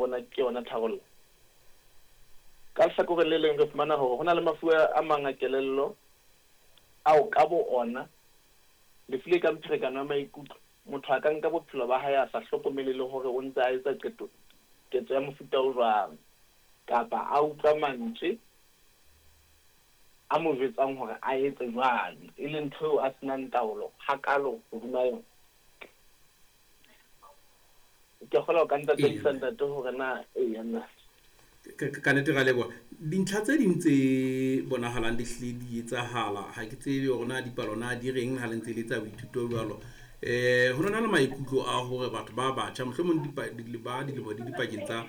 bona ke yona tharollo. Ka lehlakoreng le leng re fumana hore ho na le mafu a mang a kelello ao ka bo ona, lefu le kang pherekano ya maikutlo, motho a ka nka bophelo ba hae a sa hlokomele le hore o ntse a etsa qeto, ketso ya mofuta o jwang, kapa a utlwa mantswe a mo jwetsang hore a etse jwalo, e leng ntho eo a se nang taolo hakaalo hodima yona. Ke kgolwa o ka ntataisa ntate hore na eya na. Ka nnete ra leboha. Dintlha tse ding tse bonahalang di hlile di etsahala, ha ke tsebe hore na dipalo na di reng ha le ntse le etsa boithuto jwalo. Ho na le maikutlo a hore batho ba batjha mohlomong ba dilemo di dipakeng tsa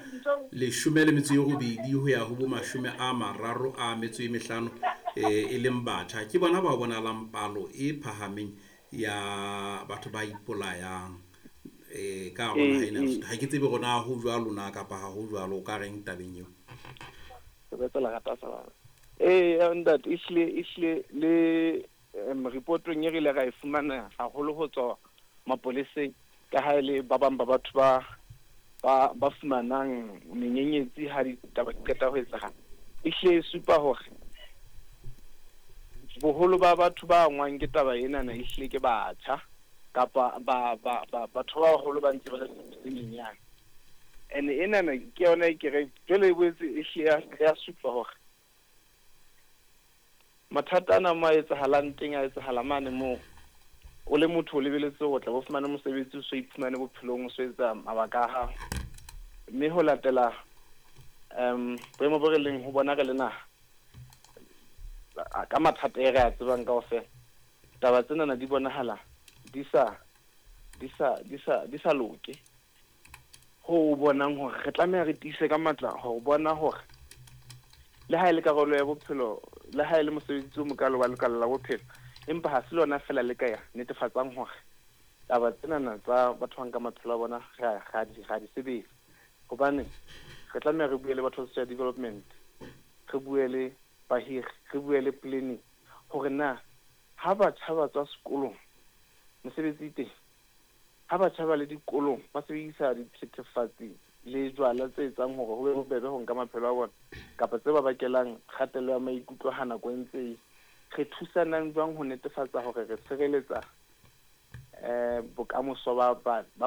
18 ho ya ho bo 35, e leng batjha, ke bona ba bonahalang palo e phahameng ya batho ba ipolayang ka hare ho naha ena ya Lesotho. Ha ke tsebe hore na ho jwalo na kapa ha ho jwalo, o ka reng tabeng eo? Ee, ntate, ehlile le reportong e re ile ra e fumana haholo ho tswa mapoleseng, ka ha e le ba bang ba batho ba fumanang menyenyetsi ha ditaba di qeta ho etsahala. Ehlile e supa hore boholo ba batho ba angwang ke taba enana ehlile ke batjha kapa batho ba baholo ba ntse ba le tse nyenyane. And enana ke yona e ke reng jwale e boetse ehlile ya supa hore mathata ana mo a etsahalang teng a etsahala mane moo o le motho o lebeletse hore o tla bo fumane mosebetsi, o so iphumane bophelong, o so etsa mabaka a hao. Mme ho latela boemo bo re leng ho bona re le naha, ka mathata e re a tsebang kaofela, taba tsenana di bonahala di sa di sa di sa di sa loke. Ho o bonang hore re tlameha re tiise ka matla ho bona hore le ha e le karolo ya bophelo, le ha e le mosebetsi o mokalo wa lekala la bophelo, empa ha se lona feela le ka ya netefatsang hore taba tsenana tsa batho ba nka maphelo a bona ra di sebetsa. Hobane re tlameha re bue le batho ba social development, re bue le bahiri, re bue le planning hore na ha batjha ba tswa sekolong mesebetsi e teng, ha batjha ba le dikolong ba sebedisa dithethefatsi le jwala tse etsang hore ho be bobebe ho nka maphelo a bona kapa tse ba bakelang kgatello ya maikutlo ha nako e ntse e, re thusanang jwang ho netefatsa hore re tshireletsa bokamoso ba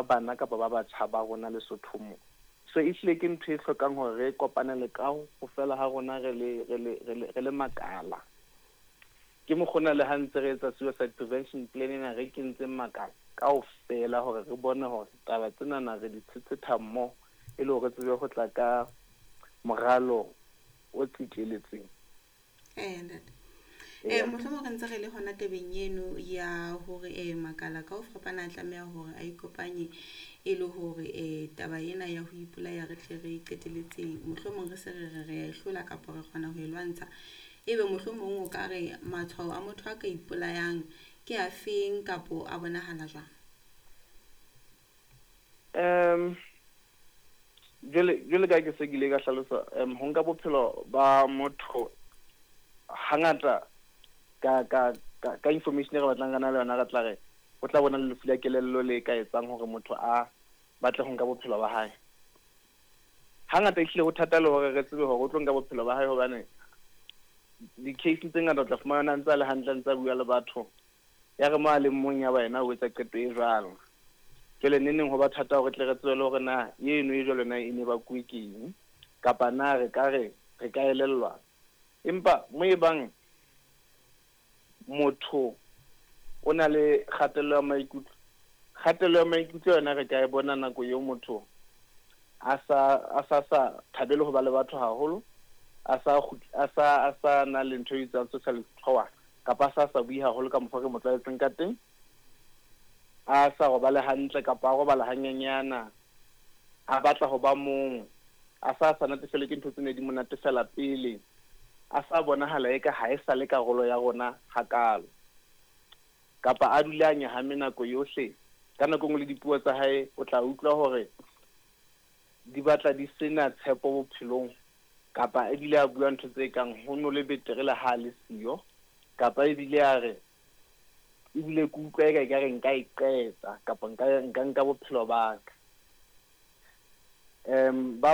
bana kapa ba batjha ba rona Lesotho mo. So ehlile ke ntho e hlokang hore re kopanele ka ho fela ha rona re le makala. Ke mokgona le ha ntse re etsa suicide prevention plan ena re kentseng makala kaofela hore re bone hore taba tsenana re di tshetsheta mmoho e le hore re tsebe ho tla ka moralo o tsitleletseng. Ntate. Mohlomong re ntse re le hona tabeng eno ya hore makala ka ho fapana a tlameha hore a ikopanye e le hore taba ena ya ho ipolaya re tle re qetelletseng, mohlomong re se re re re a e hlola kapa re kgona ho e lwantsha. Ebe mohlomong o ka re matshwao a motho a ka ipolayang ke a feng kapo a bonahala jwang? Jwale ka ke se ke ile ka hlalosa, ho nka bophelo ba motho hangata ka information e re batlang re na le yona, re tla re o tla bona le lefu la kelello le ka etsang hore motho a batle ho nka bophelo ba hae. Hangata ehlile ho thata le hore re tsebe hore o tlo nka bophelo ba hae, hobane di-case tse ngata o tla fumana a ntse a le hantle, a ntse a bua le batho, ya re mo a leng mong ya ba yena o etsa qeto e jwalo. Jwale neneng ho ba thata hore tle re tsebe le hore na eno e jwalo na e ne bakuwe ke eng, kapa na re ka re re ka elellwa. Empa mo e bang motho o na le kgatello ya maikutlo, kgatello ya maikutlo yona re ka e bona nako eo motho a sa thabele ho ba le batho haholo, a sa na le ntho e bitswang social withdrawal, kapa a sa bue haholo ka mokgwa re mo tlwaetseng ka teng, a sa robale hantle kapa a robala hanyenyana, a batla ho ba mong, a sa natefelwe ke ntho tse ne di mo natefela pele, a sa bonahala eka ha e sa le karolo ya rona hakalo, kapa a dule a nyahame nako yohle. Ka nako e nngwe le dipuo tsa hae o tla utlwa hore di batla di sena tshepo bophelong, kapa ebile a bua ntho tse kang ho no le betere le ha le siyo, kapa ebile a re ebile ke utlwa eka ekare nka e qeta kapa nka nka bophelo ba ka. Ba